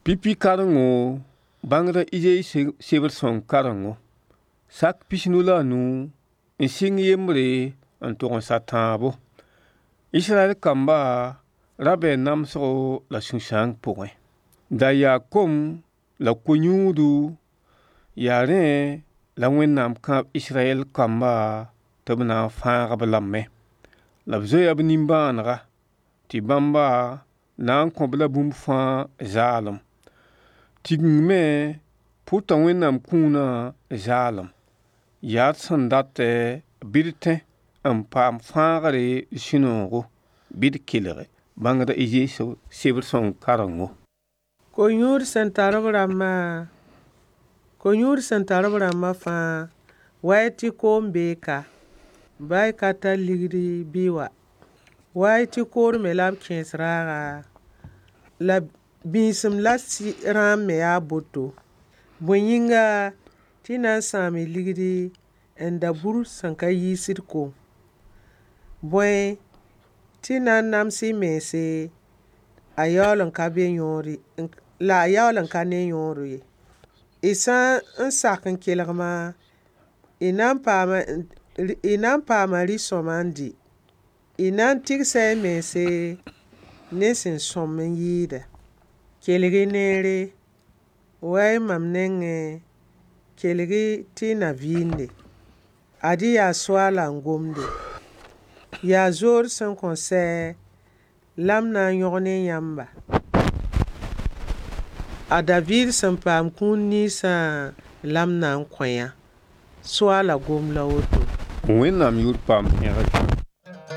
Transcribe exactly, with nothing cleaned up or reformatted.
Pipi karengo, bãngda Izayi sebr sõng karengo. Sak pis-nu la a nu n sɩng yembre n tog n sa tãabo. Israyɛl kamba ra bee namsgo la sũ-sãang pʋgẽ. Da yaa kom la ko-yũudu, yaa rẽ la Wẽnnaam kãab Israyɛl kamba tɩ b na n fãag-b lame. La b zoeya b nimbãanega tɩ bãmba na n kõ-b la bũmb fãa zaalem. Tigeng me pʋta Wẽnnaam kũunã zaalem. Yaa d sẽn datɛ bɩ d tẽ n paam fãagre sũ-noogo, bɩ d kelge bãngda Izayi sebr sõng karengo. Ko-yũud sẽn tar b rãmbã ko-yũud sẽn tar b rãmbã fãa wa y tɩ koom bee ka ba y ka tar ligdi bɩ wa wa y tɩ kood me la b kẽes raaga la bĩisem la rãam me yaa boto bõe yĩnga tɩ y na n sãam y ligdi n da bur sẽn ka yiisd kom bõe tɩ na n nams y mense a yaool n ka be yõod la a yaool n ka ne yõod ye y sã n sak n kelgmã y na n paama y na n paama rɩ-sõma n dɩ y na n tɩgsa y mense ne sẽn sõm n yɩɩda kelg-y neere wa y mam nengẽ kelg-y tɩ y na vɩɩnde ad-y yaa soaala n gomde yaa zood sẽn kõn sɛ la m na n yõg ne yãmba a Daviid sẽn paam kũun ninsã la m na n kõ yã. Soaala gom la woto. Wẽnnaam yʋʋr paam pẽgre.